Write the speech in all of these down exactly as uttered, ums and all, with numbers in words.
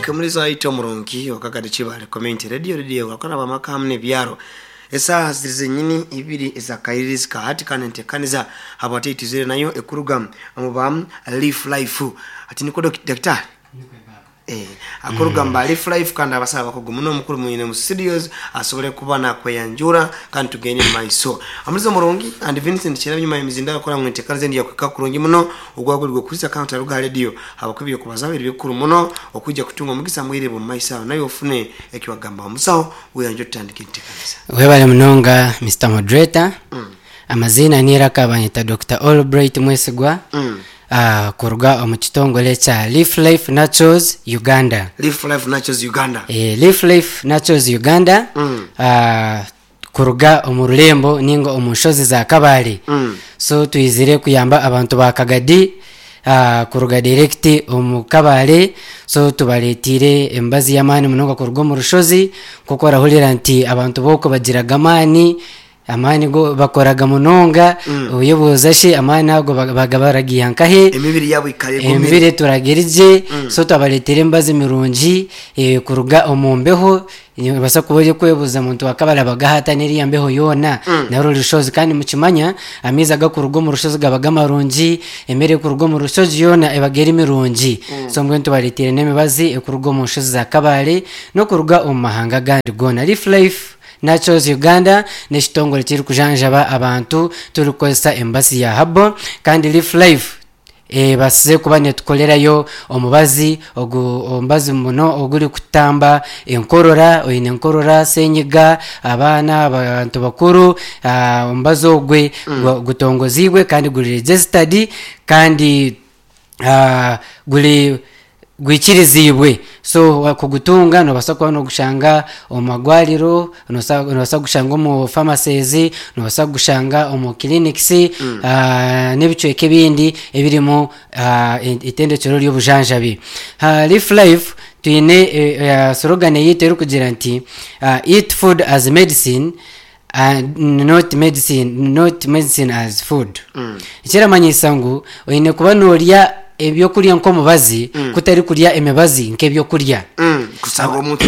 Okay, muri zaito omurungi okakadi Kibale Community Radio, radio wakora bamaka hamwe n'ebyaro. Esaaha ziri zenyini ibiri ezakairirizi kahati kandi ntekaniza habwateitizire nayo ekuruga omu ba Leaf Life. Ati niko daktari Eh, akuruga mm. Leaf Life kandi abasaba bakugu muno omukuru mwine mu studios asobole kuba nakweyanjura kandi tugende mu maiso. Amulizo murungi and Vincent Kirabye nyuma y'emizinda akora mu ntekaniza ndi yakweka kurungi muno ogwagulirwe kwisa counter ruga radio abakubye kubaza ebiri bikuru muno okujja kutunga omugisa mwire mu maiso nayo ofune ekiwagamba omusawo weyanjo tutandike entekaniza. Webale munonga Mister Moderator. Mm. Amazina nira kabanyita Doctor Albright Mwesigwa. Mm. Uh, kuruga omu kitongole kya Leaf Life Naturals Uganda. Leaf Life Naturals Uganda. Eh, Leaf Life Naturals Uganda. Mm. Uh, kuruga omu rurembo ninga omu nshozi za Kabale. Mm. So twizire kuyamba abantu ba Kagadi uh, kuruga direct omu Kabale. So tubaletire embazi y'amaani munonga kuruga omu rushozi kuko orahurira nti abantu boko bagiraga amaani amaani go bakoraga munonga mm. Oyebuuza shi amaani ago bagabaragiya nkahe emibiri yabo ikare gomire emibiri turagerije mm. So twabaletera embazi mirungi e, kuruga omu mbeho basa kuba kwebuza muntu wakabala bagahata neriya mbeho yona mm. Naro rushozi kandi mukimanya amiza gakuruga mu rushozi gabaga marungi emere kuruga mu rushozi yona ebageri mirungi mm. So mbwe tubaletere n'emibazi ekuruga mu nshozi za Kabale no kuruga omu mahanga gandi gona. Leaf Life Naturals Uganda n'ekitongole kiri kujanjaba abantu turikozesa embasi ya habo kandi Leaf Life e, basize kuba netukolerayo omubazi ogu omubazi muno oguri kutamba enkorora oyine enkorora senyiga abaana abantu bakuru omubazi ogwe mm. Gutongozibwe kandi guri registered kandi uh, guri gwikirizibwe. So kugutunga nobasa kuba nogushanga omu magwariro, nobasa gushanga omu pharmacies, nobasa gushanga omu clinics mm. uh, n'ebicweka ebindi ebirimu uh, itendekero ry'obujanjabi. uh, Leaf Life twine uh, slogan yitu erikugira nti uh, eat food as medicine and not medicine not medicine as food. Mm. Ekiramanyisa ngu oine kuba norya ebyokurya nk'omubazi mm. Kutari kurya emibazi nk'ebyokurya mm. Kusanga omuntu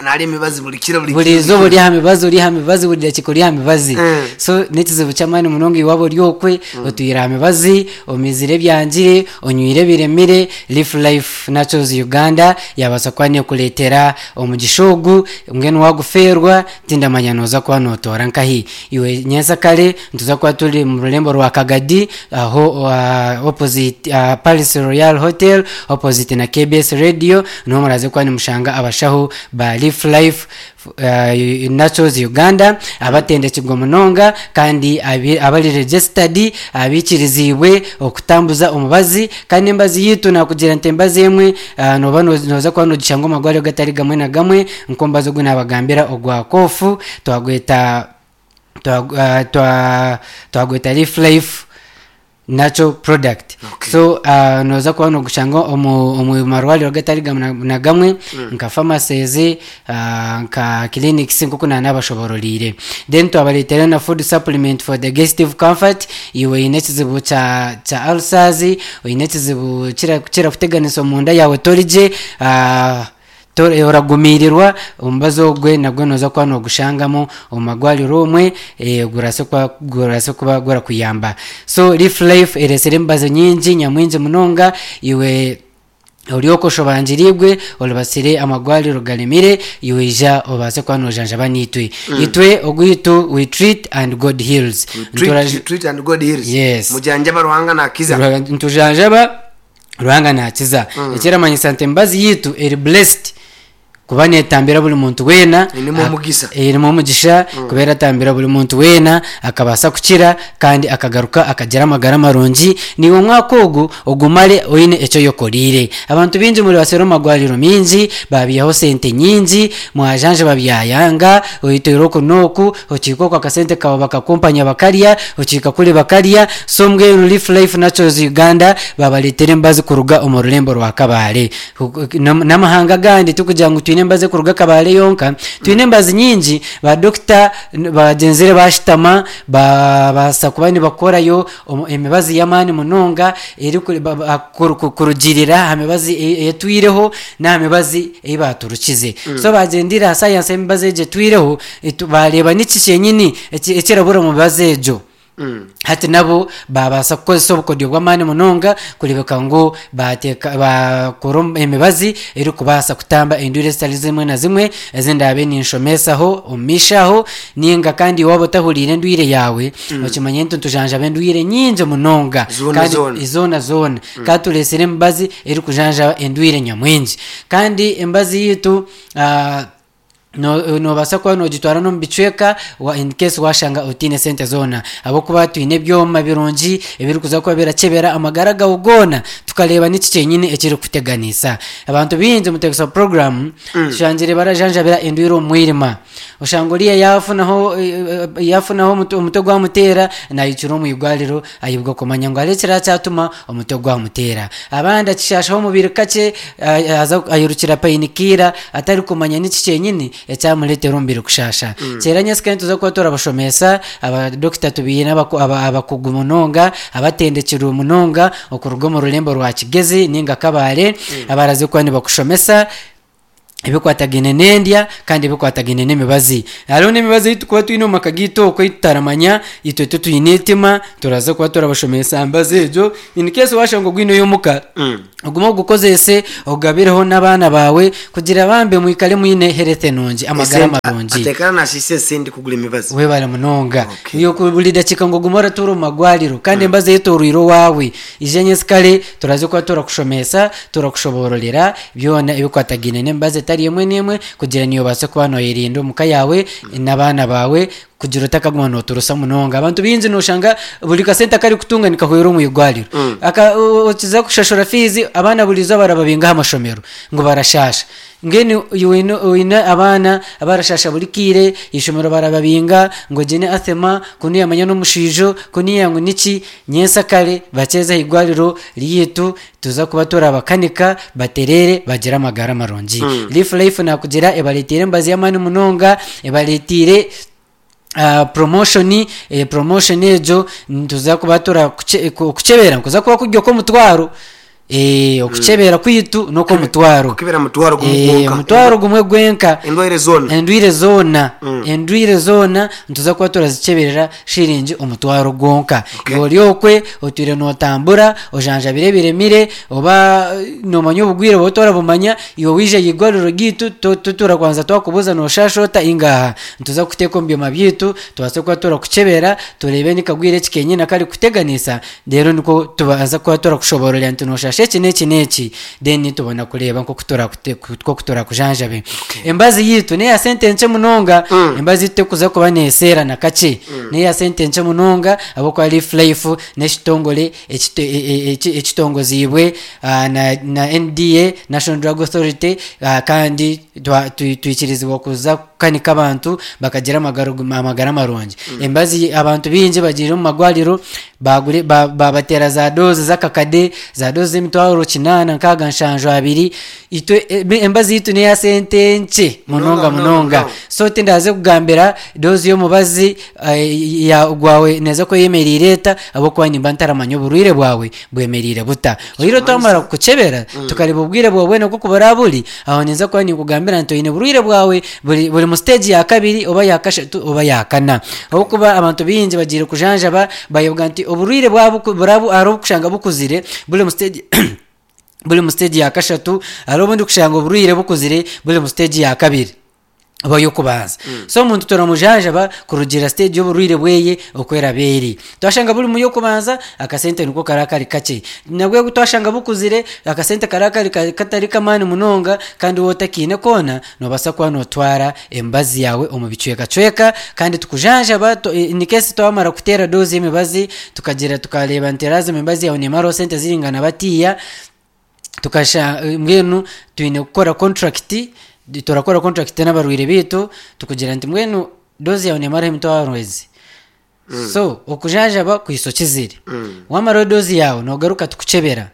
nali emibazi buli kiro buli buli izooba ori aha mibazi ori aha mibazi buri dakiika ori aha mibazi mm. So n'ekizibu ky'amaani munonga iwaaba ori okwe mm. Otwire aha mibazi omizire ebyangire onywire ebiremire. Leaf Life Naturals Uganda yabaasa kuba nekureetera omugisha ogu mbwenu wagufeerwa tindamanya nooza kuba nootoora nkahi iwe nyensakare nituza kuba turi mu rurembo rwa Kagadi aho uh, opposite uh, Palace Royal Hotel opposite na K B S Radio niho muraze kuba nimushanga abashaho ba Leaf Life uh, Naturals Uganda abatendekirwe munonga kandi abari registered abikirizibwe okutambuza omubazi kandi embazi yitu nakugira nti embazi emwe uh, noba noza kuba nogishanga omagwariro gatari gamwe na gamwe nkombazi ogu nabagambira ogwa kofu twagweta twa twagweta Leaf Life natural product. Okay. So uh, noza kuba nogushanga omu omu marwariro gatari gamwe na gamwe mm. Nka pharmacies uh, nka clinics nkuko nabashobororire. Then twabaletera na food supplement for digestive comfort iwe ine ekizibu kya kya ulcers oyine ekizibu kira kira kuteganisa omunda yawe torije uh, oragumirirwa omubazi ogwe nagwe noza kuba nogushangamo omu magwariro omwe e, gurase kuba gurase kuba gurakuyamba. So Leaf Life eresere embazi nyingi nyamwingi munonga iwe oriokoshobanjiribwe olubasire amagwariro galemire iwe ija obase kuba nojanjaba nitwe. Mm. Itwe ogwitu we treat and God heals. We treat, we treat and God heals. Yes. Mujanjaba Ruhanga nakiza. Ntujanjaba Ruhanga nakiza. Mm. Ekiramanyisa nti embazi yitu eri blessed kuba netambira buri muntu wena erimu omugisha erimu omugisha mm. Kubera atambira buri muntu wena akabasa kukira kandi akagaruka akagira amagara marungi niwe omwaka ogu ogumare oine ekyo yokorire. Abantu bingi muri basero magwariro mingi babiyaho sente nyingi mwajanje babyayanga oitero kunoku okiko kwa kasente kawo bakakumpanya bakarya okika kuri bakarya. So mbwe Leaf Life Naturals Uganda babaletere embazi kuruga omu rurembo rwa Kabale n'amahanga gandi tukugira ngu twine twine embazi kuruga Kabale yonka, twine embazi nyingi. Ba dokita bagenzire bashitama babaasa kuba nibakorayo emibazi y'amaani munonga eri kurugirira aha mibazi etwireho n'aha mibazi ei baturukize. So bagendire aha sayansi y'emibazi egyo etwireho, bareeba niki kyenyini ekirabura omu mibazi egyo. Hati nabo babaasa kukozesa obukodyo bw'amaani munonga kurebeka ngu bateeka bakora emibazi erikubaasa kutamba endwire ezitari zimwe na zimwe ezindaabe ninshomesaho omu maisho aho. Ninga kandi waaba otahuriire endwire yaawe, okimanye nti nitujanjaba endwire nyingi munonga kandi zoona zoona, kandi tureesire emibazi erikujanjaba endwire nyamwingi. Kandi emibazi yaitu nobaasa kuba nogitwara n'omu bicweka in case washanga otiine sente zoona, ahabw'okuba twine ebyoma birungi ebirikuza kuba birakyebera amagara gawe goona, tukareeba niki kyenyini ekirikuteganisa. Abantu baingi omu program tushangire barajanjabira endwire omu mwirima, oshanga oriya yafunaho yafunaho omutwe gwamuteera, nayikira omu igwariro ayibwa kumanya ngu hariho ekirakyatuma omutwe gwamuteera. Abandi akishashaho omubiri kakye, ayirukira painkiller atarikumanya niki kyenyini ekyamureetera omubiri kushasha. Kyera nyesika nituza kuba turabashomesa abadokita tubiine abakugu munonga abatendekirwe munonga okuruga omu rurembo rwa Kigezi ninga Kabale, abaraze kuba nibakushomesa ebikwatagaine n'endya kandi ebikwatagaine n'emibazi. Hariho n'emibazi ei tukuba twine omu maka gaitu okwo ei tutaramanya, itwe titwine etima, turaza kuba turabashomesa mbazi egyo in case washanga ogwineyo omuka, ogume ogukozese ogabireho n'abaana baawe kugira bambe mwikare mwine health nungi, amagara marungi. Atekana nashise esente kugura emibazi. Webale munonga. Iyo buri dakiika ngu ogume oratuura omu magwariro kandi embazi eyetoreire owaawe, ije nyensikare turaza kuba turakushomesa, turakushobororera byona ebikwatagaine n'emibazi etari emwe n'emwe kugira niyo obaase kuba noyerinda omuka yaawe n'abaana baawe, kugira otakaguma noturusa munonga. Abantu baingi noshanga buri kasente akari kutunga nikahwera omu igwariro, okiza kushashura fiizi, abaana buri izooba barababinga aha mashomero ngu barashasha. Mbwenu oine abaana abarashasha buri kiire, ishomero barababinga ngu ogye ni asthma, kunu yamanya n'omushiijo, kunu ngu niki. Nyensakare bakyeze aha igwariro ryaitu, tuza kuba turabakanika baterere bagire amagara marungi. Leaf Life nakugira ebareetiire emibazi y'amaani munonga, ebareetiire Uh, promotion eh, promotion egyo nituza kuba turakukyebera nkuza kuba kurya okw'omutwaro, eh, okukyebera kwitu n'okw'omutwaro. Kukebera mutwaro gumwe gwonka. Omutwaro gumwe gwenka. Endwaire zoona. Endwire zoona, endwire zoona nituza kuba turazikyeberera shiringi omutwaro gwonka. Ori okwe otwire notambura ojanjabire ebiremire, oba nomanya obugwire oba otorabumanya, iwe wija aha igwariro ryaitu turakwanza twakubuuza noshasha ota ingaha, nituza kuteeka omu byoma byaitu tubaase kuba turakukyebera turebe nikagwire eki kenyini akari kuteganisa, reero nikwo tubaasa kuba turakushobororera nti noshasha eki n'eki n'eki, then tubona kureeba nk'oku turakujanjabe. Embazi yaitu neya sente nkye munonga, embazi yaitu tekuza kuba neeseera na kakye, neya sente nkye munonga ahabw'okuba Leaf Life n'ekitongore ekitongoziibwe na N D A, National Drug Authority, kandi twikirizibwa kuza kukanika abantu bakagira amagara marungi. Embazi abantu baingi bagiire omu magwariro babateera za dozi z'akakade, za dozi z'emitwaro kinaana nkaaga nshanju abiri. Itwe embazi yaitu neya sente nkye munonga munonga. So tindaze kugambira dozi y'omubazi gwawe neza kweyemerire eta, ahabw'okuba nimba ntaramanya oburwire bwawe bwemerire buta. Oire twamara kukukyebera tukareba obwire bwawe bwena nk'oku buraba buri, aho ninza kuba ninkugambira nti oine burwire bwawe buri buri mu stage ya kabiri oba ya kashatu oba ya kana. Ahabw'okuba abantu baingi bagiire kujanjaba bayoboga nti oburwire bwabo buraba hariho obukushanga bukuzire buri mu stage buri mu stage ya kashatu, hariho obundi kushanga oburwire bukuzire buri mu stage ya kabiri oba y'okubanza. So omuntu turamujanjaba kurugira stage y'oburwire bweye okweraba eri. Twashanga buri mu y'okubanza akasente niko kara kari kakye, nabwo twashanga bukuzire akasente kara kari katari kamaani munonga, kandi wowe otakiine koona nobaasa kuba notwara emibazi yawe omu bicwekacweka kandi tukujanjaba. In case twamara kuteera dozi y'emibazi tukagira tukareeba nti lazima emibazi yawe nemaraho sente ziringana batiya, tukasha mbwenu twine kukora contract, turakora contract n'abarwire baitu tukugira nti mbwenu dozi yawe nemaraho emitwaro ezi. So okujanjaba kwiso kizire, wamaraho dozi yawe nogaruka tukukyebera.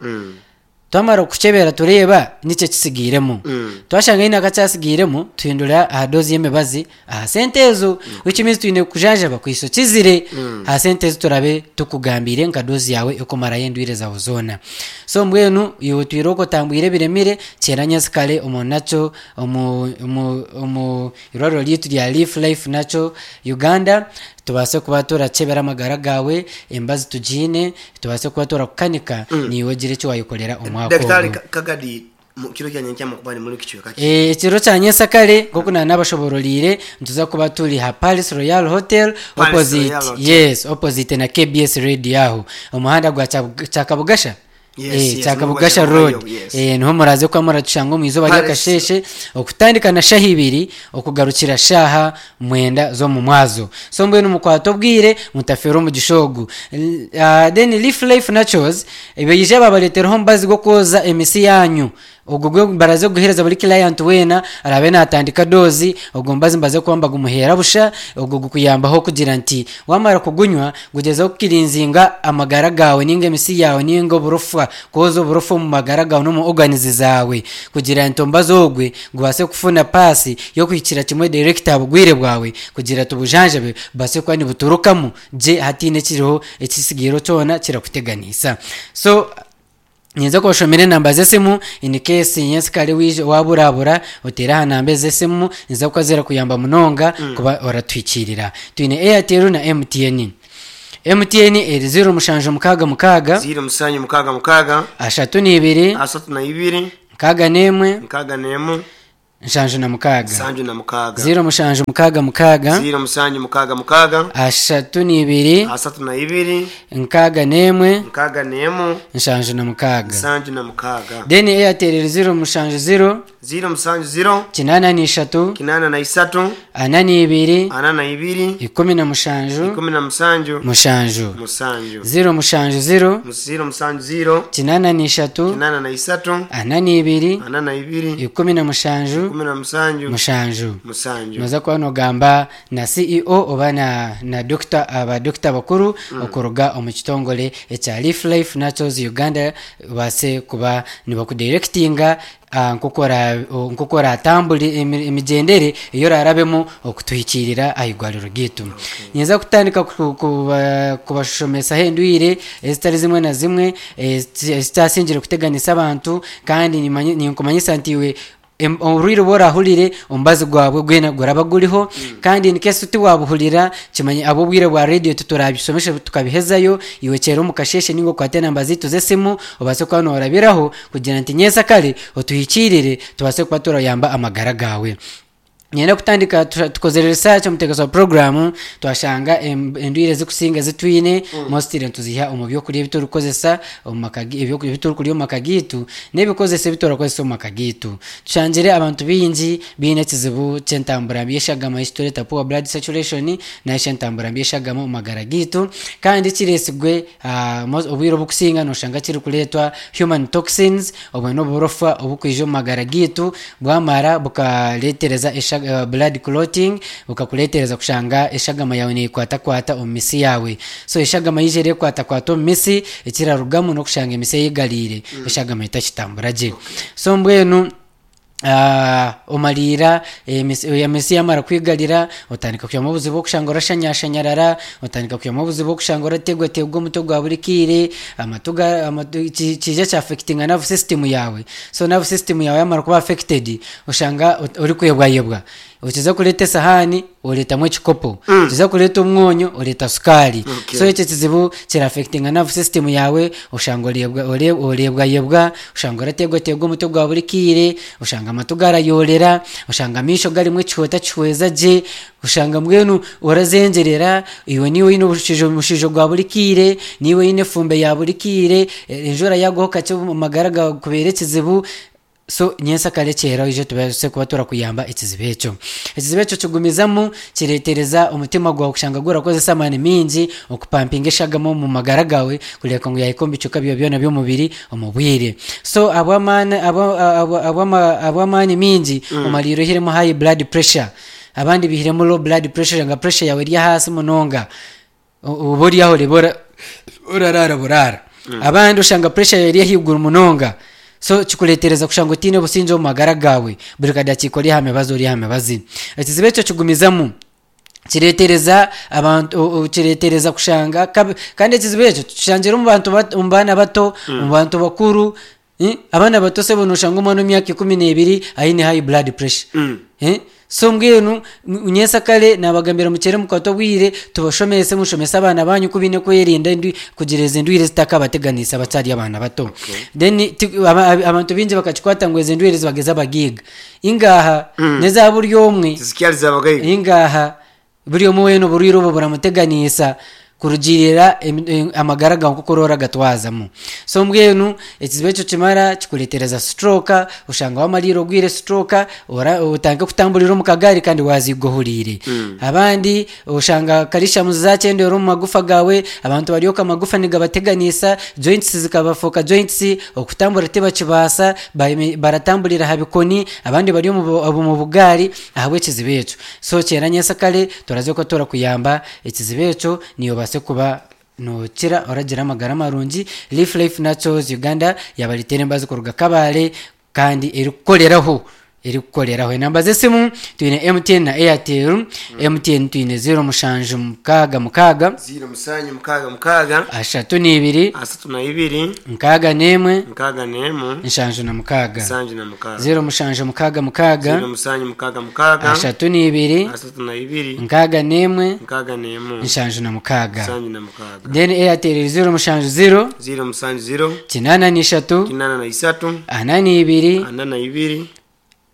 Twamara kukukyebera tureeba niki ekisigairemu. Mm. Twashanga haine akakyasigairemu, tuhindura aha dose y'emibazi aha sente ezo, which means twine kukujanjaba kuhisa okizire aha sente ezi turabe tukugambiire nka dose yaawe ekumarayo endwire zaawe zoona. So mbwenu iwe otwire okwo otambwire ebiremire, kyera nyensikare omu nakyo omu omu omu irwariro ryaitu rya Leaf Life Natural Uganda, tubaase kuba turakyebera amagara gaawe, emibazi tugiine, tubaase kuba turakukanika, niiwe ogire eki waayekorera omwaka Daktari ogu. Ka- Kagadi, mu kiro kya nyenkya mukuba ni muri kicweka ki? Eh, ekiro kya nyensakare nk'oku nari nabashobororire, nituza kuba turi ha Palace Royal Hotel, Palace opposite, Royal Hotel. yes, opposite na K B S Radio aho omuhanda gwa Kya- Kyakabugasha. Yes, Eh, yes, Kyakabugasha niho Road. yes. Eh, niho muraze kuba muratushanga omu izooba Palace. ry'akasheshe okutandika na shaha ibiri okugarukira shaha mwenda z'omu mwazo. So mbwenu mukwate obwire, mutafeera omugisha ogu. L- ah, then Leaf Life Naturals baije babareetereho omubazi gw'okwoza emisi yanyu. Ogwo gwe baraze kuguheereza buri client weena arabe natandika dose. Ogwo mubazi mbaze kuba mbagumuheera busha. Ogwo gukuyambaho kugira nti wamara kugunywa, gugezeho kukirinzinga amagara gawe ninga emisi yawe ninga oburofa, kwoza oburofa omu magara gawe n'omu organs zawe, kugira nti omubazi ogwe gubase kufuna paasi y'okuhikira kimwe direct aha bugwire bwawe, kugira tubujanjabe bubase kuba nibuturukamu gye hatiine ekiriho ekisigiiro kyona kirakuteganisa. So nyinza kubashomera enamba z'esimu in case nyensikare wije waburabura, oteere aha namba ez'esimu, niza kuba zirakuyamba munonga kuba oratuhikirira. Twine Airtel na M T N. M T N eri ziro mushanju mukaaga mukaaga, ziro mushanju mukaaga mukaaga, ashatu n'ibiri, asatu na ibiri, nkaaga n'emwe, nkaaga n'emu, nshanju na mukaaga. Nsanju na mukaaga. Ziro mushanju mukaaga mukaaga, ziro mushanju mukaaga mukaaga, ashatu n'ibiri, asatu na ibiri, nkaaga n'emwe, nkaaga n'emu, nshanju na mukaaga. Nsanju na mukaaga. Then Airtel eri ziro mushanju ziro, ziro mushanju ziro, kinaana n'ishatu, kinaana na isatu, ana n'ibiri, ana na ibiri, ikumi na mushanju, ikumi na mushanju, mushanju. Mushanju. Ziro mushanju ziro, ziro mushanju ziro, kinaana n'ishatu, kinaana na isatu, ana n'ibiri, ana na ibiri, ikumi na mushanju, ikumi na mushanju, mushanju. Mushanju. Noza kuba nogamba na C E O oba na, na doctor, abadokita bakuru okuruga omu kitongore ekya Leaf Life Naturals Uganda, baase kuba nibakudirectinga ah, nk'oku ora- o- nk'oku oratambura emi- emigyendere eyo orarabemu okutuhikirira aha igwariro ryaitu. Nyinza kutandika ku- kuba- kubashomesaho endwire ezitari zimwe na zimwe ezi- ezitasingire kuteganisa abantu, kandi nimanye- ninkumanyisa nti iwe em- oburwire obu orahurire, omubazi gwabwe gwena guraba guriho. Kandi in case tiwabuhurira, kimanye ab'obwire bwa radio tuturabisomesha tukabihezayo. Iwe kyera omu kasheshe ninga okwate enamba zaitu z'esimu, obaase kuba norabiraho kugira nti nyensakare otuhikirire, tubase kuba turayamba amagara gawe. Nyenda kutandika tu- tukozere research omuteekaso wa programu, twashanga em- endwire ezikusinga ezitwine mostly nituziha omu byokurya ebi turikukozesa omu maka gi- ebyokurya ebi turikurya omu maka gitu n'ebikozesa ebi turakozesa omu maka gitu. Tushangire abantu bingi biine ekizibu ky'entambura mbi y'eshagama, ekitureeta poor blood circulation, nayo entambura mbi y'eshagama omu magara gitu, kandi kireesigwe ah, mo- obwire obukusinga noshanga kirikureetwa human toxins. Obwe n'oburofa obukwija omu magara gitu, bwamara bukareetereza esha- uh, blood clotting, bukakureetereza kushanga eshagama yawe neekwatakwata omu misi yawe. So eshagama yije erekwatakwata omu misi, ekirarugamu n'okushanga emisi eyigariire, eshagama etakitambura gye. So mbwenu Ah, omaliira emisi emisi yamara kwigarira, otandika kuyamu obuzibu okushanga orashanyashanyarara, otandika kuyamu obuzibu okushanga orategwategwa omutwe gwa buri kiire, amatu ga- amatu ki- kija kyaffectinga nerve system yawe. So nerve system yawe yamara kuba affected, oshanga ot- orikwebwayebwa. Okiza kureeta esahani, oreetamu ekikopo, okiza kureeta omwonyo, oreeta sukaari. Okay. So ekyo kizibu kiraffectinga nerve system yawe, oshanga orebwa ore- orebwayebwa, oshanga orategwategwa omutwe gwa buri kiire, oshanga amatu garayorera, oshanga amaisho garimu ekihota kihweza gye, oshanga mbwenu orazengerera. Iwe niwe oine omushijo omushijo gwa buri kiire, niwe oine efumbe ya buri kiire, eh, enjura yagwaho kakye omu magara gawe kubeera ekizibu. So nyensakare kyera oije tubase kuba turakuyamba ekizibu ekyo. Ekizibu ekyo kigumizamu kireetereza omutima gwawe kushanga gurakozesa amaani mingi okupampinga eshagama omu magara gawe, kureka ngu yahika omu bicuka byawe byona by'omubiri omu bwire. So abw'amaani abwa- abwa- abw'ama- abw'amaani mingi omaliire ohiremu high blood pressure, abandi bihiremu low blood pressure, nga pressure yawe eri ahaasi munonga. O- oba ori aho oreba ora- oraraara buraara. Abandi oshanga pressure yawe eri ahaiguru munonga. So kikureetereza kushanga otiine obusingye omu magara gaawe, buri kadakiika ori aha mibazi ori aha mibazi. Ekizibu ekyo kigumizamu kireetereza abantu o- o- kireetereza kushanga kabi- kandi ekizibu ekyo tukishangire omu bantu bato, omu baana bato, omu bantu bakuru. Eh, abaana bato sebo noshanga omwana w'emyaka ikumi n'ebiri aine high blood pressure. Mm. Eh? So mbwenu nyensakare nabagambira mukyere mukwate obwire tubashomese, mushomese abaana banyu ku baine kwerinda endu- kugira ezi ndwire zitakabateganisa bakyari abaana bato. Then ti- aba- aba- abantu bingi bakakikwata ngu ezi ndwire zibageza abagiiga, ingaha neza buri omwe. Tizikyariza abagaiga. Ingaha, buri omwe weena oburwire obwo buramuteganisa kurugirira emi- em- amagara gawe nk'oku oroora gatwazamu. So mbwenu ekizibu ekyo kimara kikureetereza stroke, oshanga wamarire ogwire stroke, ora- otandike kutamburira omu kagari kandi waziiga ohuriire. Abandi oshanga calcium zakyendera omu magufa gawe, abantu baryoka amagufa nigabateganisa, joints zikabafuuka joints, okutambura tibakibaasa, bayeme- baratamburira aha bikoni, abandi bari omu bu- omu bugaari ahabw'ekizibu ekyo. So kyera nyensakare turaze ko turakuyamba ekizibu ekyo, niyo obaase kuba nokira oragira amagara marungi. Leaf Life Naturals Uganda yabareetera embazi kuruga Kabale kandi erikukoreraho erikukoreraho. Enamba z'esimu twine M T N na Airtel. M T N twine zero mushanju mukaaga mukaaga, ziro musanju mukaaga mukaaga, ashatu n'ibiri, asatu na ibiri, nkaaga n'emwe, nkaaga n'emwe, nshanju na mukaaga. Nsanju na mukaaga. zero mushanju mukaaga mukaaga, ziro musanju mukaaga mukaaga, ashatu n'ibiri, asatu na ibiri, nkaaga n'emwe, nkaaga n'emwe, nshanju na mukaaga. Nsanju na mukaaga. Then Airtel zero mushanju zero, ziro musanju ziro, kinaana n'ishatu, kinaana na isatu, ana n'ibiri, ana na ibiri,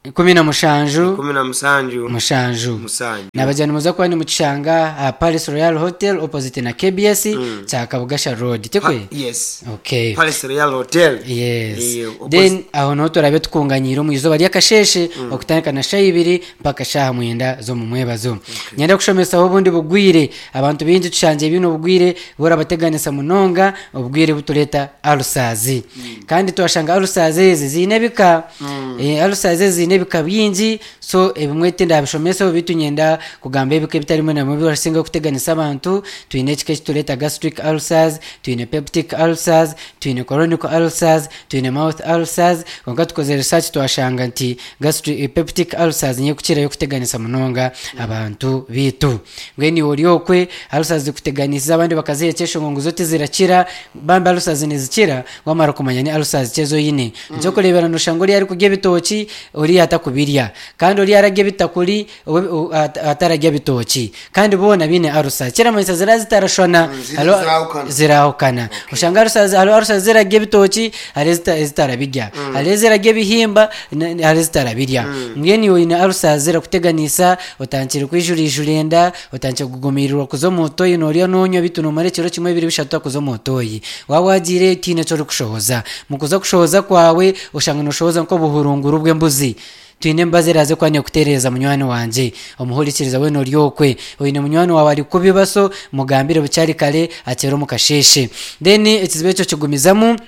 ikumi na mushanju, ikumi na musanju, mushanju. Musanju. Nabajani muza kuba ni mukishanga aha Palace Royal Hotel opposite na K B S kya Kabugasha Road, tikwe? Pa- yes Okay. Palace Royal Hotel. Yes. Eh, opposite- Then aho niho turabe tukunganyire omu izooba ry'akasheshe okutandika na shaha ibiri mpaka shaha mwenda z'omu mwebazo. Nyenda kushomesaho obundi bugwire. Abantu bingi tushangye bino obugwire burabateganisa munonga, obugwire butureta ulcers. Kandi twashanga ulcers ezi ziine ebika. Eh, ulcers ezi ziine ebika bingi, so ebimwe tindabishomesaho, bitu nyenda kugamba ebika ebitarimu namwe birasinga kuteganisa abantu. Twine ekika ekitureta gastric ulcers, twine peptic ulcers, twine chronic ulcers, twine mouth ulcers. Konka tukoze research twashanga nti gastric peptic ulcers niyo kukirayo kuteganisa munonga abantu bitu. Mbwenu iwe ori okwe ulcers zikuteganisa, abandi bakazihekyesha ngo zo tizirakira, bambi ulcers nizikira wamara kumanya ni ulcers kyezo oyine. Ekyokureebera noshanga oriya arikurya ebitoki, oriya atakubirya, kandi oriya ararya ebitakuri, we- o- at- atararya bitooki, kandi boona biine ulcers, kiramanyisa zira zitarashwana. ziri- Hariho- zirahukana. Zirahukana. Oshanga ulcers, hariho ulcers zirarya ebitoki, hariho ezita- ezitarabirya, hariho ezirarya ebihimba, na- hariho ezitarabirya. Mbwenu iwe oyine ulcers zirakuteganisa, otandikire kwijurijura enda, otandikire kugumirirwa kuza omu toyi, norya nonywa bitu nomara ekiro kimwe, bibiri, bishatu kuza omu toyi, waba wagiire tihaine eki orikushohoza. Mu kuza kushohoza kwawe oshanga noshohoza nk'obuhurunguru bw'embuzi. Twine embazi eraze kuba nekutereeza munywani wangye omuhurikiriza weena ori okwe oine munywani wawe ari kubi, so mugambire bukyari kare akyere omu kasheshe. Then ekizibu ekyo kigumizamu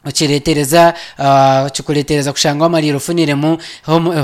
okiretereza uh, kikuretereza kushanga wamarire ofuniremu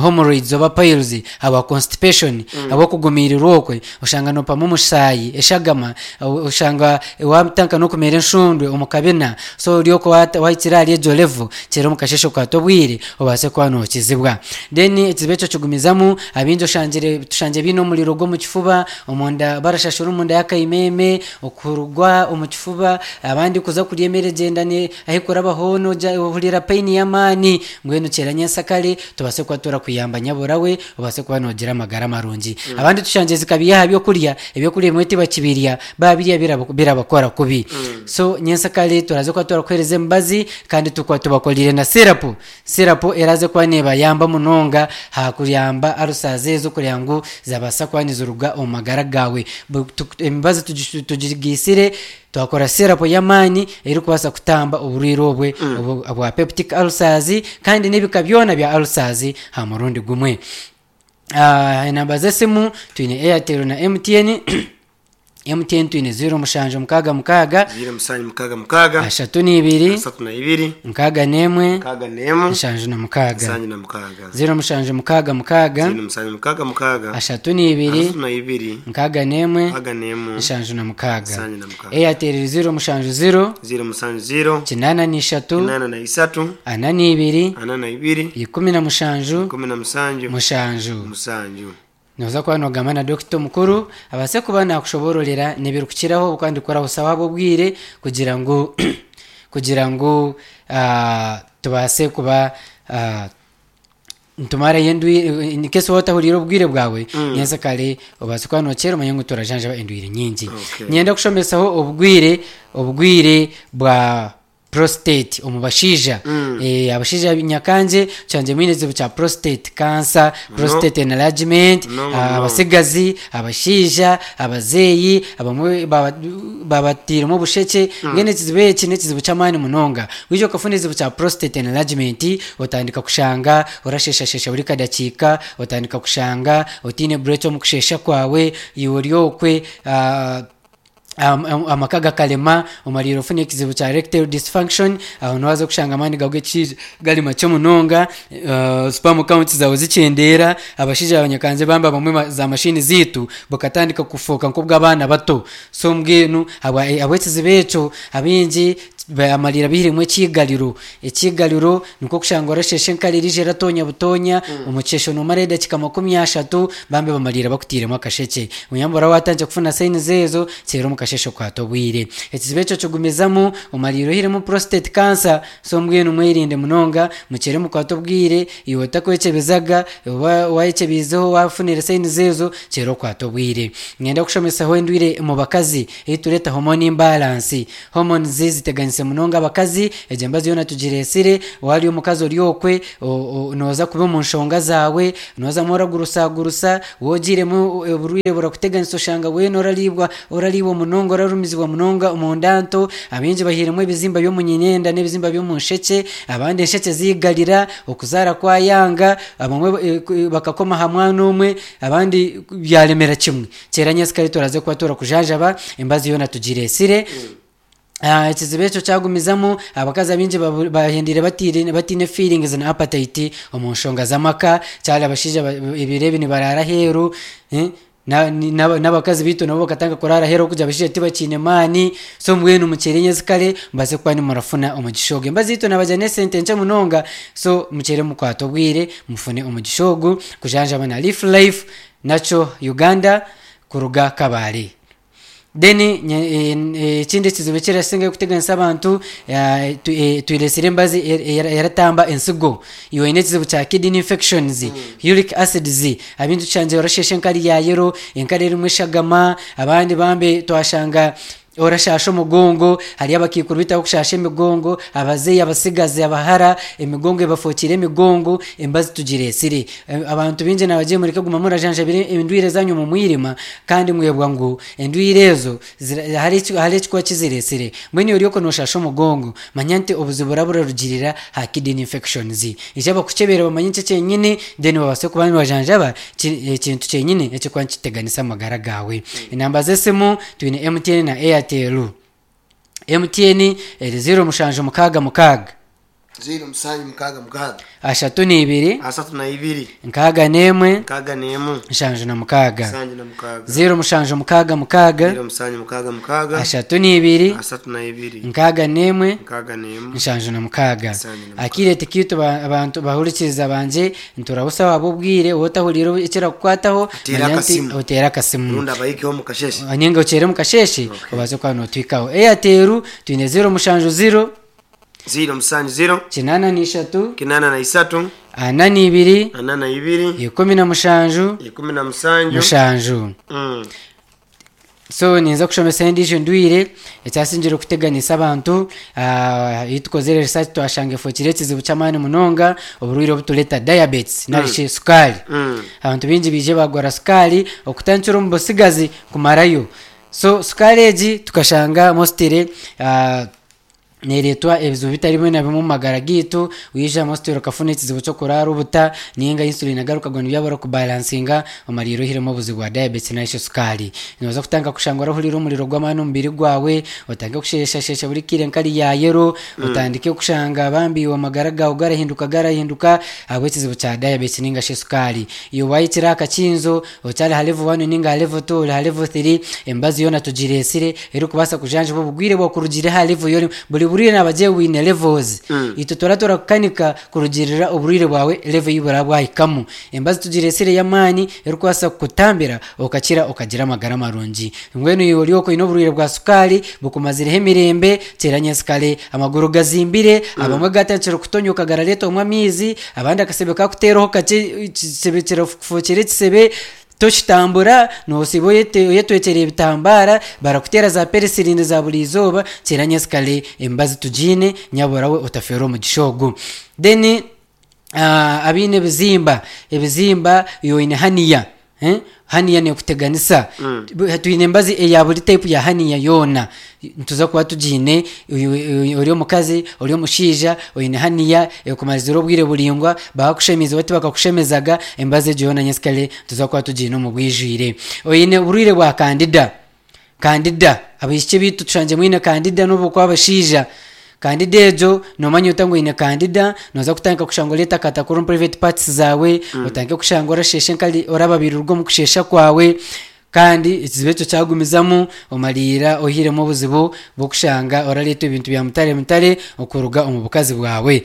hemorrhoids oba piles habwa constipation, habw'okugumirirwa okwe. Oshanga nopamu omusaayi, eshagama, oshanga watanka n'okumera enshundwe omu kabina. So ori okwo wahikire ahari egyo level, kyera omu kasheshe okwata obwire obaase kuba nokizibwa. Then ekizibu ekyo kigumizamu, abingi oshangire tushangire biine omuriro gw'omu kifuba omunda, barashashura omunda y'akaimeme, okurugwa omu kifuba, abandi kuza kurya emere gyenda ahi kurabaho noja ohurira pain y'amaani. Mbwenu kyera nyensakare tubaase kuba turakuyamba nyaburawe, obaase kuba nogira amagara marungi. Abandi tushangire zikabiya aha byokurya, ebyokurya ebimwe tibakibirya, babirya birabakora kubi. So nyensakare turaze kuba turakuhereza emibazi kandi tukuba tubakorire na syrup. Syrup eraze kuba nebayamba munonga hakuyamba ulcers ezo kugira ngu zabaasa kuba niziruga omu magara gawe. Emibazi tugigisire twakora syrup y'amaani erikubaasa kutamba oburwire obwe bwa peptic ulcers kandi n'ebika byona bya ulcers ha murundi gumwe. Enamba z'esimu twine Airtel na M T N. M T N twine ziro mushanju mukaaga mukaaga, ziro musanju mukaaga mukaaga, ashatu n'ibiri, asatu na ibiri, nkaaga n'emwe, nkaaga n'emu, nshanju na mukaaga. Nsanju na mukaaga. Ziro mushanju mukaaga mukaaga, ziro musanju mukaaga mukaaga, ashatu n'ibiri, asatu na ibiri, nkaaga n'emwe, nkaaga n'emu, nshanju na mukaaga. Nsanju na mukaaga. Airtel ziro mushanju ziro, ziro musanju ziro, kinaana n'ishatu, kinaana na isatu, ana n'ibiri, ana na ibiri, ikumi na mushanju, ikumi na musanju, mushanju. Musanju. Noza kuba nogamba na dokita omukuru abaase kuba nakushobororera n'ebirikukiraho kandi kurahusaho ab'obwire kugira ngu kugira ngu ah, tubaase kuba ah, ntumarayo endwire nkesi watahurire obwire bwawe mm. Nyensa kare obaase kuba nokyera omanye ngu turajanjaba endwire nyingi. Okay. Nyenda kushomesaho obwire obwire bwa prostate omu bashaija. mm. e, abashaija nyakanje kyangye mwine ekizibu kya prostate cancer, prostate enlargement. No, no. Abasigazi, abashaija, abazeeyi abamwe baba- babatiremu obusheke. Mbwenu ekizibu eki n'ekizibu ky'amaani munonga. Wija okafuna ekizibu kya prostate enlargement, otandika kushanga orasheshashesha buri kadakiika, otandika kushanga otiine break omu kushesha kwawe, iwe ori okwe ah, am- am- amaka gakarema, omarire ofuna ekizibu kya erectile dysfunction. Aho niwaza kushanga amaani gawe g'ekishaija gari makye munonga, uh, sperm count zawe zikyendeera. Abashaija abanyakanze bamba bamwe ma- za mashini ziitu bukatandika kufoka nk'obw'abaana bato. So mbwenu habwa- habw'ekizibu ekyo abingi amarira bihiremu ekiigariro. Ekiigariro nikwo kushanga orashesha enkari erije eratonya butonya omukesho, nomara edakika makumi ashatu, bambe bamarira bakutiremu akasheke. Oyambura watangira kufuna signs ezo, kyera omukasheshe okwata obwire, ekizibu ekyo kigumizamu, omarira ohiremu prostate cancer. So mbwenu mwerinde munonga, mukyere mukwate obwire. Iwe otakwekyebezaga oba wayekyebizeho wafunire signs ezo, kyera okwata obwire. Ngenda kushomesaho endwire mu bakazi ei tureta hormone imbalance. Hormones ziteganise munonga abakazi. Egyo embazi yoona tugiresire. Wari omukazi ori okwe o- o- noza kuba omu nshonga zaawe, nozamu oragurusagurusa, wogiremu oburwire burakuteganisa, oshanga weena oraribwa oraribwa munonga, orarumizibwa munonga omunda nto. Abingi bahiremu ebizimba by'omunyinyenda n'ebizimba by'omunsheke, abandi ensheke zigarira, okuzaara kwayanga, abamwe eh, ku- bakakoma ha mwana omwe, abandi byaremera kimwe. Kyera nyensikare turaze kuba turakujanjaba, embazi yoona tugiresire. Ah, ekizibu ekyo kyagumizamu, abakazi abingi babu- bahendire batire batine feelings na appetite omu nshonga z'amaka. Kyari abashaija ba- ebiro ebi nibarara aheeru, eh, na- ni- n'aba- n'abakazi bitu nabo bakatanga kurara aheeru kugira abashaija tibakiine maani. So mbwenu mukyere nyensikare mbaze kuba nimurafuna omugisha ogu. Embazi yitu nabajya n'esente nkye munonga, so mukyere mukwate obwire mufune omugisha ogu kujanjaba na Leaf Life Nakyo Uganda kuruga Kabale. Then nye- eh, eh, ekindi ekizibu ekirasingayo kuteganisa abantu, eh, tu- eh, twiresire embazi er- er- eratamba ensigo. Iwe oine ekizibu kya kidney infections, uric acids, abintu tushangiye orashesha enkari ya yero, enkari erimu eshagama, abandi bambe twashanga orashasha omugongo. Hariyo abakiikuru bitaho kushasha emigongo, abazeeyi, abasigazi, abahara, emigongo ebafukire emigongo. Embazi tugiresire. Eh, abantu bingi nabagiye mureke guma murajanjabire endwire zanyu mu mwirima, kandi mwebwa ngu endwire ezo zira- hari eki- hari ekikuba kiziresire. Mbwenu ori oko noshasha omugongo, manya nti obuzibu burarugirira ha kidney infections. Ija bakukyebera bamanye nki kyenyini, then babase kuba nibajanjaba ki- ekintu kyenyini ekikuba nikiteganisa amagara gawe. Enamba z'esimu twine M T N na Airtel. M T N eri ziro mushanju mukaaga mukaaga, ziro musanju mukaaga mukaaga, ashatu n'ibiri, asatu na ibiri, nkaaga n'emwe, nkaaga n'emu, nshanju na mukaaga. Nsanju na mukaaga. Ziro mushanju mukaaga mukaaga, ziro musanju mukaaga mukaaga, ashatu n'ibiri, asatu na ibiri, nkaaga n'emwe, nkaaga n'emu, nshanju na mukaaga. Nsanju na mukaaga. Akire tikitu ba- abantu bahurikiriza banje nturabusa waba obwire otahurira ekirakukwataho, Oteere manya nti akasimu. oteere akasimu. Rundi abayikeho mu kasheshe. Ninga okyere mu kasheshe obaze kuba notwikaho. Airtel twine ziro mushanju ziro, ziro musanju ziro, kinaana n'ishatu, kinaana na isatu, ana n'ibiri, ana na ibiri, ikumi na mushanju, ikumi na musanju, mushanju. Mm. So ninza kushomesa endiijo ndwire ekyasingire kuteganisa abantu. ah, iyo tukozere research twashanga efukire ekizibu ky'amaani munonga, oburwaire obutureta diabetes narishi sukaari. Mm. Abantu bingi bije bagwara sukaari okutankira omu busigazi kumarayo. So sukaari egi tukashanga mostly uh, Neeretwa ebizibu bitari bimwe na bimwe omu magara gaitu. Waija mositeri okafuna ekizibu ky'okuraara obuta ninga insulin agaruka gwa nibyabura kubalansinga, omariire ohiremu obuzibu bwa diabetes narishi sukaari. Nooza kutandika kushanga orahurira omuriro gw'amaani omu mubiri gwawe, otandike kusheshashesha buri kaire nkari ya yero, otandike kushanga bambi amagara gaawe garahinduka garahinduka ahabw'ekizibu kya diabetes ninga shi sukaari. Iwe wahikire aha kakinzo, okyari aha level one ninga aha level two, ori aha level three, emibazi yoona tugireetsire erikubaasa kujanjaba obugwire bwakurugire aha level yorimu. Buri burwire nabagira bwine levels. Itwe tura turakukanika kurugirira oburwire bwawe level ei buraba bwahikamu. Emibazi tugireetsire y'amaani erikubaasa kukutambira okakira okagira amagara marungi. Mbwenu iwe ori okwo oine oburwire bwa sukaari bukumazireho emirembe, teera nyensikare, amaguru gazimbire, abamwe gatandikire kutonyoka garareetwamu amaizi, abandi akasebe kakuteeraho kakye ekisebe kirakufuukira ekisebe, tokitambura, noosiiba oyete- oyetwekyereire ebitambara, barakuteera za penicillin za buri izooba, teera nyensikare emibazi tugiine, nyabura we otafeerwa omugisha ogu. Then uh, abaine ebizimba, ebizimba iwe oine hernia, eh? Hernia nekuteganisa. Mm. Bu- twine emibazi eya buri type ya hernia yoona nituza kuba tugiine. Oyu- ori omukazi, ori omushaija, oine hernia ekumarizire obwire buraingwa, bakakushemize bati bakakushemezaga, emibazi egyo yoona nyensikare tuza kuba tugiine omu bwijwire. Oine oburwire bwa candida, candida, abaishiki bitu tushangye mwine candida n'obu okuba abashaija, candida egyo noomanya ota ngu oine candida? Nooza kutandika kushanga oreetakatakura omu private parts zaawe, otandike kushanga orashesha enkari, orababirirwa omu kushesha kwawe, kandi ekizibu ekyo kyagumizamu, omariira ohiremu obuzibu bw'okushanga orareetwa ebintu bya mutare mutare okuruga omu bukazi bwawe.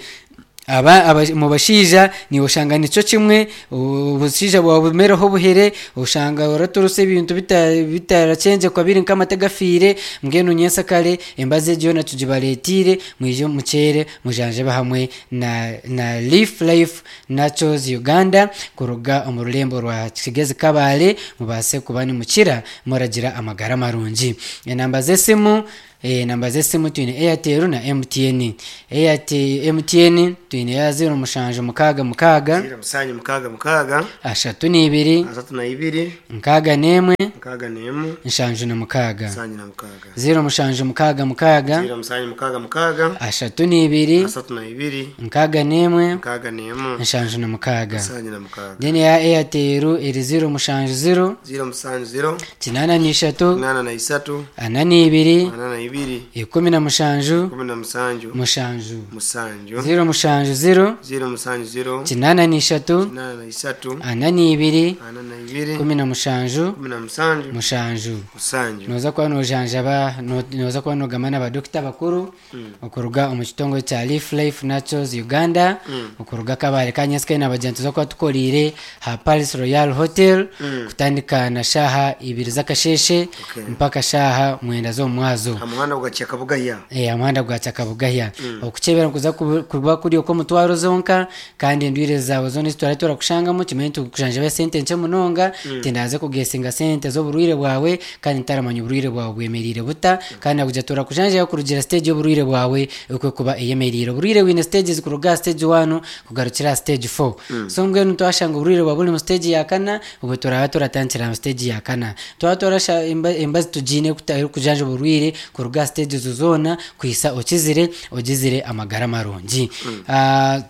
Aba, aba mu bashaija niiwe oshanga nikyo kimwe, obushaija bwawe bumereho obuhere, oshanga oraturisa ebintu bita- bitarakyengekwa biri nk'amate gafiire. Mbwenu nyensakare emibazi egyo yoona tugibareetiire, mwije mukyere mujanjabe hamwe na, na Leaf Life Naturals Uganda kuruga omu rurembo rwa Kigezi Kabale, mubaase kuba nimukira muragira amagara marungi. Enamba z'esimu, eh, namba z'esimu twine Airtel na M T N. Airtel, M T N twine ya zero mushanju mukaaga mukaaga, zero mushanju mukaaga mukaaga, ashatu n'ibiri, asatu na ibiri, nkaaga n'emwe, nkaaga n'emwe, nshanju na mukaaga. Nshanju na mukaaga. zero mushanju mukaaga mukaaga, zero mushanju mukaaga mukaaga, ashatu n'ibiri, asatu na ibiri, nkaaga n'emwe, nkaaga n'emwe, nshanju na mukaaga. Nshanju na mukaaga. Then ya Airtel eri zero mushanju zero, zero mushanju zero, kinaana n'ishatu, kinaana na isatu, ana n'ibiri, ana na ibiri, ikumi na mushanju, kumi na mushanju, mushanju. Mushanju. zero mushanju zero, zero mushanju zero, kinaana n'ishatu, kinaana na isatu, ana n'ibiri, ana na ibiri, kumi na mushanju, kumi na mushanju, mushanju. Mushanju. Noza kuba nojanjaba, no- noza kuba nogamba n'abadokita bakuru okuruga omu kitongore kya Leaf Life Naturals Uganda okuruga Kabale. Kanyasikaine nabagira nti tuza kuba tukoriire ha Palace Royal Hotel kutandika na shaaha ibiri z'akasheshe Okay. mpaka shaaha mwenda z'omumwazo. Ha muhanda gwa Kyakabugaya. Eh, omuhanda gwa Kyakabugaya. Okukyebera nikuza kubu- kuba kuri okw'omutwaro zonka, kandi endwire zaawe zoona ezitwara turakushangamu kimanye nti kujanjaba esente nkye munonga, tindaze kugesinga sente z'oburwire bwawe kandi ntaramanya oburwire bwawe bwemerire buta, kandi nakugira turakujanjaba kurugira stage y'oburwire bwawe ekwe kuba eyemeriire. Oburwire bwine stages kuruga aha stage one kugarukira aha stage four. So mbwenu twashanga oburwire bwawe buri mu stage ya kana, obwo turaba turatandikira mu stage ya kana. Twaba twarasha emba- emibazi tugiine kuta- erikujanja oburwire kuruga aha stage ezo zoona kuhisa okizire ogizire amagara marungi. Ah,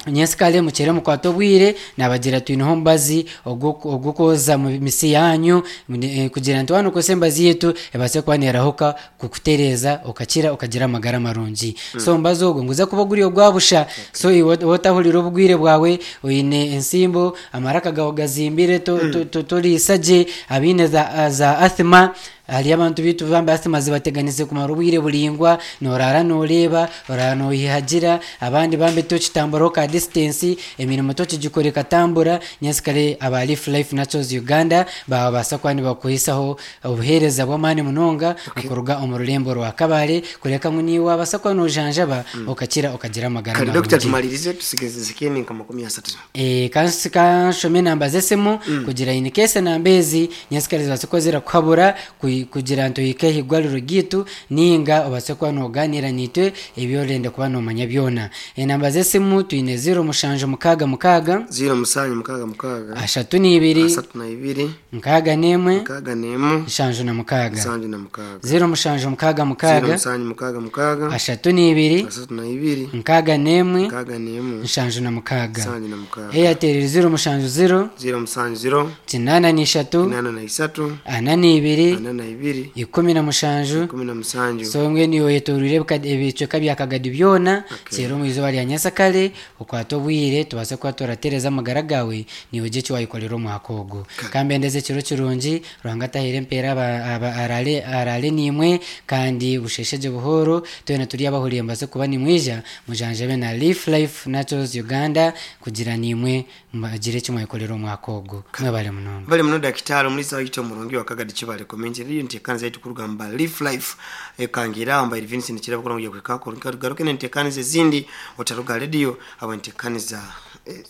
nyensikale mukere mukwate obwire, nabagira twineho omubazi ogw'okwoza mu misi yanyu, eh, kugira nti wano okozesa emibazi yitu ebaase kuba nerahuka kukutereeza okakira okagira amagara marungi. So omubazi ogwo nguza kuba guri ogwabusha. So iwe otahurira obugwire bwawe, oine ensimbo, amaraka gawe gazimbire, to- to- to- toriisa gye, abaine za, za asthma, hariyo abantu bitu bambe asthma zibateganise kumara obwire buraingwa, norara noreeba, orara noyihagira, abandi bambe tokitamburaho ka distance, emirimo tokigikora ekatambura. Nyensikare aba Leaf Life Naturals Uganda babaasa kuba nibakuhisaho obuheereza bw'amaani munonga okuruga omu rurembo rwa Kabale, kureka ngu niiwe wabaasa kuba nojanjaba okakira okagira amagara Kale dokita, marungi. Tumalirize, tusigeze zikeni nka makumi asatu. Eh, kansi kanshome enamba z'esimu kugira in case enamba ezi nyensikare zibaase kuba zirakuhabura. Kugira nti ohike ahigwariro ryitu ninga obaase kuba noganira nitwe ebyorenda kuba nomanya byona. Enamba z'esimu twine ziro mushanju mukaaga mukaaga, ziro musanju mukaaga mukaaga, ashatu n'ibiri, asatu na ibiri, nkaaga n'emwe, mukaaga n'emu, nshanju na mukaaga, nsanju na mukaaga, ziro mushanju mukaaga ziro mukaaga, musanju mukaaga mukaaga, ashatu n'ibiri, asatu na ibiri, nkaaga n'emwe, mukaaga n'emu, nshanju na mukaaga. Nsanju na mukaaga. Airtel ziro mushanju ziro, ziro musanju ziro, kinaana n'ishatu, inana na isatu, ana n'ibiri, ana na ibiri, ikumi na mushanju. Ikumi na musanju. So mbwenu iwe oyetoreire ebika- ebicweka bya Kagadi byona, Okay. kera omu izooba rya nyasakare okwata obwire tubaase kuba turatereza amagara gawe, niwe gye ekiwayikorera omwaka ogu. Kambendeza ekiro kirungi, Ruhanga atahire empeera aba- aba- arare arare nimwe kandi busheshegye buhoro. Twena turi abahuriye mbaase kuba nimwija mujanjabe na Leaf Life Naturals Uganda kugira nimwe mbagire eki mwayikorera omwaka ogu. Mwebale munonga. Bali muno dakitari omulisa waitu omurungi wa Kagadi Kibale Community Radio, ntekaniza yaitu kuruga mba Leaf Life ekangira mba Vincent kirabo kugira kwekako garuke nentekaniza ezindi otaruga radio abo ntekaniza eh,